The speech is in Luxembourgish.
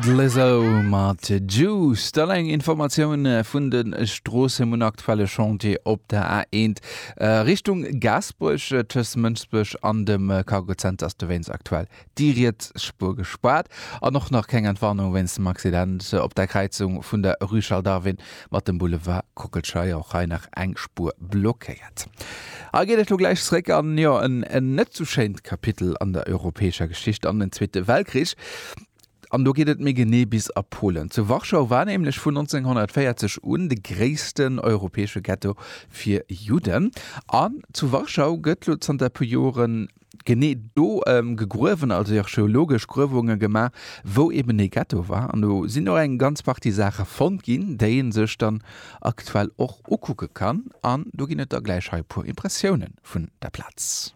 Lizzo mat Juice. Dann eng Informatioun vun de Stroossen. Mir hunn aktuell e Chantier op der A1 Richtung Gaasperech. Tëscht Mënsbech an dem Cargo Center ass dowéinst aktuell déi riets Spuer gespaart. An och nach keng Entwarnung wéinst dem Accident op der Kräizung vun der Rue Charles Darwin mat dem Boulevard Kockelscheier. Och hei nach eng Spuer blockéiert. Hei geet et lo gläich zeréck an, jo, en net sou schéint Kapitel an der europäescher Geschicht, an den Zweete Weltkrich. An do geet et méi genee bis a Polen. Zu Warschau war nämlech vun 1940 un de gréissten europäesche Ghetto fir Judden. An zu Warschau gëtt lo zanter e puer Joren genee do gegruewen, also archeologesch Gruewunge gemaach, wou eben dee Ghetto war. An do sinn och eng ganz Partie Saache fonnt ginn, déi ee sech dann aktuell och ukucke kann. An do ginn et da gläich hei e puer Impressioune vun der Plaz.